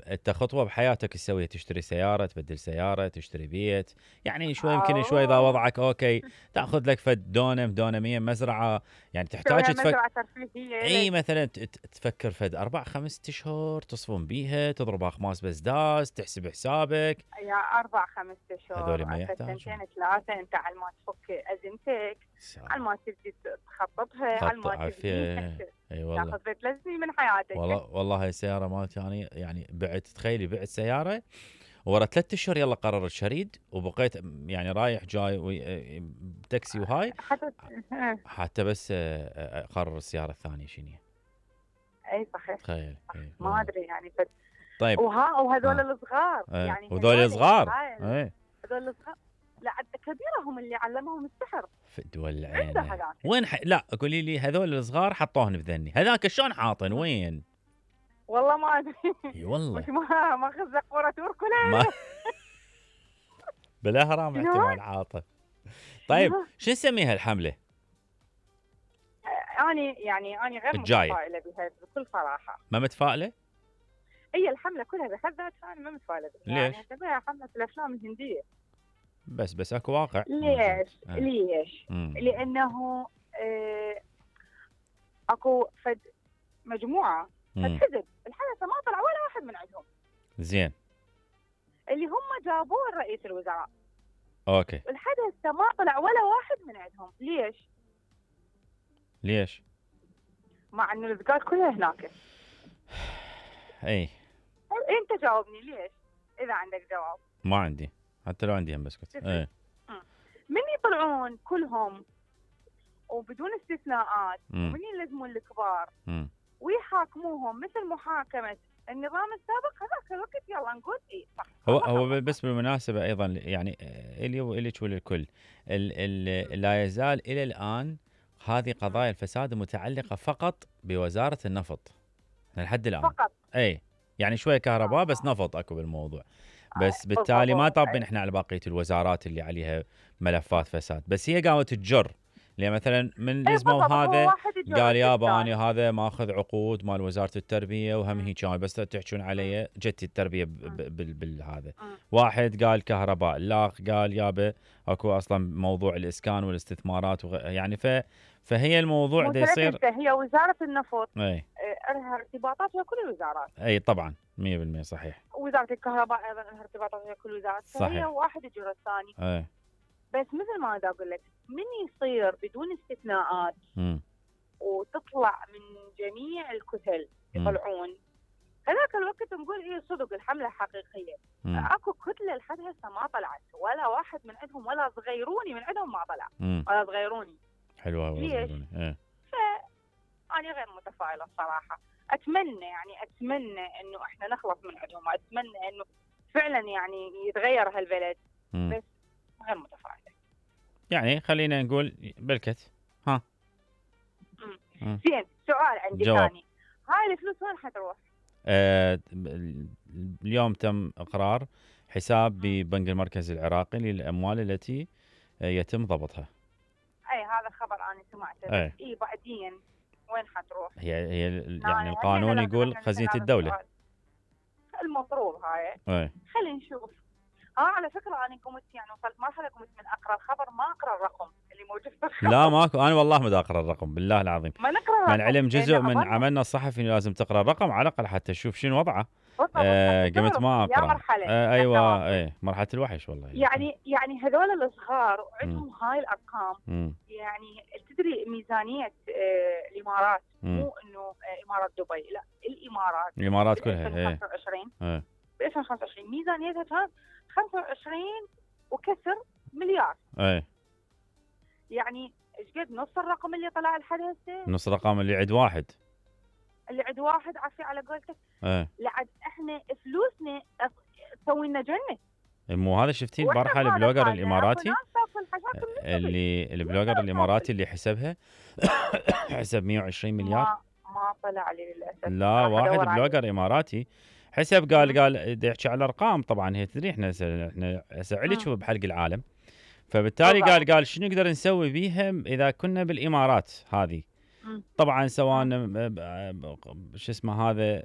انت خطوه بحياتك تسويها، تشتري سياره، تبدل سياره، تشتري بيت، يعني شوي يمكن شوي اذا وضعك اوكي تاخذ لك فد دونم دونمين مزرعه، يعني تحتاج مزرعه ترفيهيه. اي مثلا تفكر فد 4-5 اشهر تصفن بيها، تضرب اخماس بزداز، تحسب حسابك. يا 4-5 اشهر هذول ما سنتين يحتاجون 3 انت على ما تفك ازمتك، على ما تبدي تخططها، على ما تبنيها، اي والله تاخذ 3 سنين من حياتك. والله هاي السياره مالتي يعني بعت، تخيلي بعت سياره ورا 3 اشهر يلا قررت شريد، وبقيت يعني رايح جاي بتاكسي وهاي حتى بس اقرر السياره الثانيه شنو. اي صحيح. تخيل ما ادري يعني طيب وهذول الصغار يعني وهذول صغار هذول الصغار لا كبيرهم اللي علمهم السحر في الدول العين. وين لا قولي لي هذول الصغار حطوهن بذني، هذاك شلون حاطن وين؟ والله ما ادري. اي والله ما خذ قوره توركله بالاهرام احتمال عاطه. طيب شو نسميها الحمله؟ أنا غير متفائله بها بكل صراحه. ما متفائله؟ هي الحمله كلها بحد ذاتها انا ما متفائله بها. ليش؟ يعني اعتبرها حمله الافلام الهنديه. بس اكو واقع. ليش؟ لانه اكو فد مجموعه حزب الحدث ما طلع ولا واحد من عندهم. زين. اللي هم جابوه رئيس الوزراء. اوكي. الحدث ما طلع ولا واحد من عندهم، ليش؟ مع انه الذكاء كلها هناك. اي انت جاوبني ليش اذا عندك جواب. ما عندي، حتى لو عندي هم بسكت. اي من يطلعون كلهم وبدون استثناءات ومن يلزمون الكبار ويحاكموهم مثل محاكمه النظام السابق هذاك الوقت يلا نقول اي صح. هو بس بالمناسبه ايضا يعني الي والك وللكل لا يزال الى الان هذه قضايا الفساد متعلقه فقط بوزاره النفط لحد الان فقط. اي يعني شويه كهرباء بس نفط اكو بالموضوع، بس بالتالي ما طابين احنا على بقيه الوزارات اللي عليها ملفات فساد، بس هي قامت تجر. لان مثلا من لزموا هذا قال يابا انا هذا ماخذ عقود مال وزاره التربيه وهم هيك كان بس تحجون علي جتي التربيه بالهذا. واحد قال كهرباء، لا قال يابا اكو اصلا موضوع الاسكان والاستثمارات يعني فهي الموضوع ده يصير. هي وزاره النفط اي لها ارتباطات ويا كل الوزارات. اي طبعا 100% صحيح. وزاره الكهرباء ايضا لها ارتباطات ويا كل الوزارات، فهي واحد يجر الثاني. اي بس مثل ما اقول لك من يصير بدون استثناءات وتطلع من جميع الكتل يطلعون هذاك الوقت نقول هي صدق الحمله حقيقيه. اكو كتله لحد هسه ما طلعت ولا واحد من عندهم ولا صغيروني من عندهم ما طلع ولا صغيروني. حلوه ولا صغيروني. فأنا غير متفائله الصراحه. اتمنى انه احنا نخلص من عندهم، اتمنى انه فعلا يعني يتغير هالبلد. بس غير متفائله. يعني خلينا نقول بالكت. ها زين سؤال عندي ثاني، هاي الفلوس وين حتروح؟ اليوم تم اقرار حساب ببنك المركز العراقي للاموال التي يتم ضبطها. اي هذا الخبر انا سمعته. اي بعدين وين حتروح؟ هي يعني القانون يقول خزينه الدوله المفروض هاي. خلينا نشوف. على فكره انا قمت يعني وصلت مرحله قمت من اقرا الخبر ما اقرا الرقم اللي موجود في الخبر. لا ماكو، انا والله ما اقرا الرقم بالله العظيم. ما نقرا الرقم. من علم جزء من عملنا الصحفي لازم تقرا الرقم على الاقل حتى تشوف شنو وضعه. قمت ما اقرا. ايوه اي مرحله الوحش والله. يعني هذول الصغار وعندهم هاي الارقام. يعني تدري ميزانيه الامارات مو انه امارات دبي، لا الامارات كلها 2025 ب 2025 ميزانيتها كانت 25 وكسر مليار. يعني ايش قد نص الرقم اللي طلع لحد هسه؟ نص الرقم اللي عند واحد عفي على قولتك. لعد احنا فلوسنا تسوي لنا جنه. مو هذا شفتي البارحه البلوجر الاماراتي اللي البلوجر الاماراتي اللي حسبها حسب 120 مليار. ما طلع لي للاسف. لا واحد بلوجر اماراتي حسب قال يحكي على ارقام. طبعا هي تدري احنا هسه عليك بحلق العالم، فبالتالي قال شنو نقدر نسوي بيها اذا كنا بالامارات هذه. طبعا سواء شو اسمه هذا